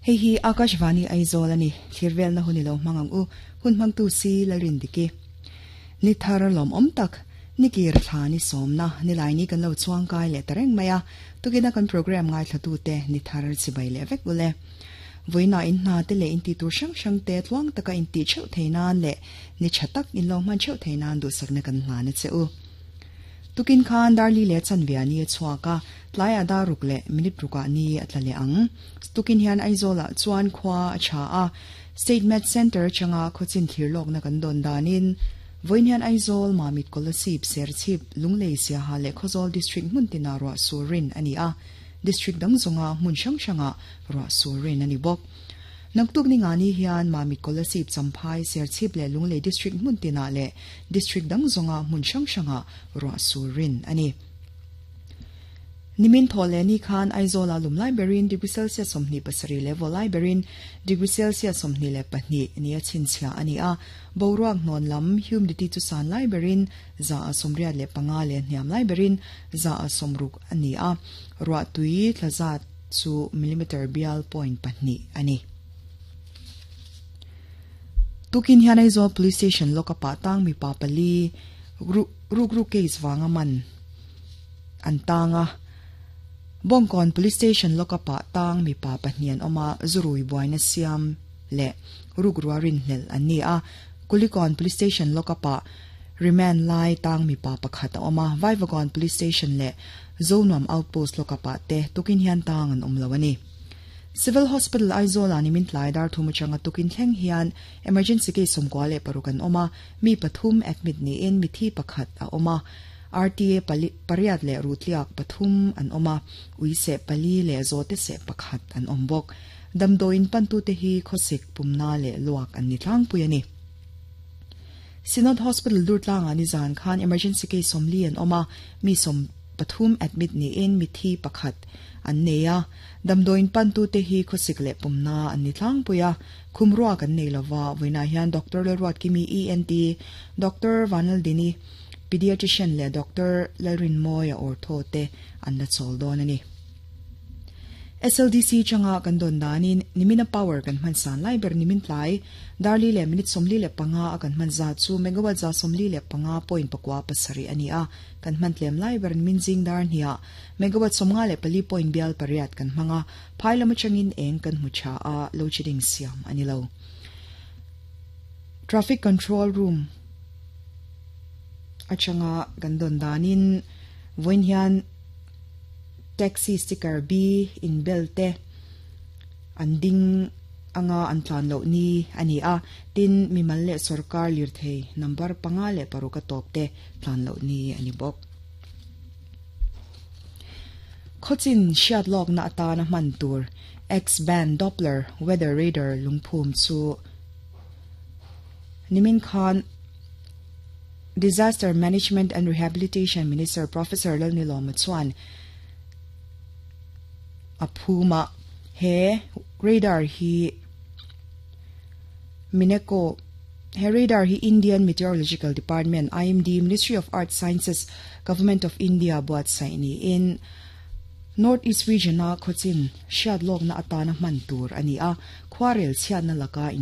Hei hi Akashvani Aizawl a ni, thlir velna hun i lo hmang ang u, hun hmangtu si Lalrindiki. Ni thar lawmawm tak, ni kir thla ni sawmna, nilai ni kan lo chuangkai leh ta reng mai a, tukina kan programme ngaithlatute ni thar chibai leh vek ule. Vawiinah in hna te leh in tih tur hrang hrang te tluang taka in tih theuh thei nan leh ni tha tak in lo hman theuh thei nan duhsakna kan hlan a che u. Tukin khan Darli leh Chanvia ni a chhuak a, tlaiah dar ruk leh minute rukah ni a tla leh ang. Tukin hian Aizawlah chuan khua a tha a, State Med Centre atanga khawchin thlir lawkna kan dawn danin vawiin hian Aizawl, Mamit, Kolasib, Serchhip, Lunglei, Siaha leh Khawzawl District hmun tinah ruah sur rin a ni a, District dang zawnga hmun hrang hrangah ruah sur rin a ni bawk. Naktuk ni ngani hian Mamit Kolasib Champhai, Serchhip leh Lunglei District hmun tinah leh District dang zawnga hmun hrang hrangah ruah sur rin a ni. Nimin thawh leh ni khan Aizawla lum lai berin degree Celsius 27 leh vaw lai berin degree Celsius 22 ni a chhinchhiah a ni a. Boruak hnawn lam humidity chu san lai berin 85 leh hniam lai berin 60 a ni a. Ruahtui tla zat chu millimeter bial point pahnih a ni. Tukin hian Aizawl Police Station lawka pah tang mipa pali rukru case vanga man an tang a. Bawngkawn Police Station lawka pah tang mipa pahnih an awm a, zurui buaina siam leh rukrua rinhlelh an ni a. Kulikawn Police Station lawka pah remand lai tang mipa pakhat a awm a, Vaivakawn Police Station leh Zonuam Outpost lawka pah te tukin hian tang an awm lo a ni. Civil Hospital Aizawl ah nimin tlai dar thum atanga tukin thleng hian emergency case 96 an awm a, mi pathum admit niin mithi pakhat a awm a, RTA pali pariat leh ruhtliak pathum an awm a, ui seh pali leh zawte seh pakhat an awm bawk. Damdawiin pantute hi khawsik pumna leh luak an ni tlangpui a ni. Synod Hospital Durtlangah nizan khan emergency case 40 an awm a, mi 13 admit niin mithi pakhat an nei a. Damdawiin pantute hi khawsik leh pumna an ni tlangpui a, khum ruak an nei lova, vawiinah hian Doctor Lalruatkimi, ENT, Doctor Vanaldini, Pediatrician leh Doctor Lalrinmawia Ortho te an la chawl dawn a ni. SLDC changa kan dawn danin nimina power kan hman san lai ber nimin tlai darli leh minute 45 a kan hman zat chu megawatt 155.97 a ni a, kan hman tlem lai ber nimin zing dar hniah megawatt 54 point bial pariat kan hmang a, phai lam atangin eng kan hmu tha a, load shedding siam a ni lo. Traffic control room atanga kan dawn danin vawiin hian Taxi sticker B inbel te an ding anga an tlan loh ni a ni a, tin mimal leh sawrkar lirthei number panga leh paruk a tawp te tlan loh ni a ni bawk. Khawchin hriat lawkna atana hman tur X-band Doppler weather radar lungphum chu nimin khan Disaster Management and Rehabilitation Minister Professor Lalnilawma chuan a phum a, he radar hi Mineko he radar hi Indian Meteorological Department, IMD, Ministry of Earth Sciences, Government of India buatsaih niin North East Region-a khawchin hriat lawkna atana hman tur a ni a, khuarel chhiatna laka in